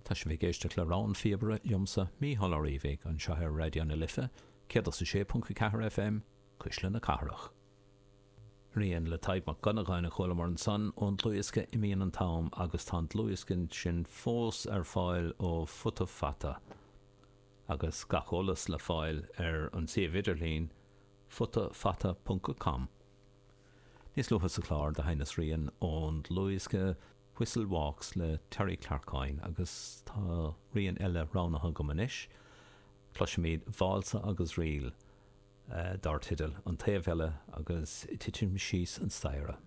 Tá sibh ag éisteacht le Rogha an Phíobaire liomsa, Mícheál Ó Riabhaigh, anseo ar Raidió na Life, 106.4 FM, Cuisle na Cathrach. Rian le Tadhg Mac Dhonnagáin a chualamar ansan ón dlúthdhiosca Imíonn an tAm agus tá an dlúthdhiosca sin fós ar fáil ó Futa Fata agus gach eolas le fáil ar an suíomh idirlín futafata ponc com. Níos luaithe sa chlár do sheinneas rian ón dlúthdhiosca Whistle Walks le Terry Clark Coyne agus tá rian eile roghnaithe agam anois. Cloisfimid Válsa agus Ríl. dar teideal An Taobh Eile agus Titim Síos an Staighre.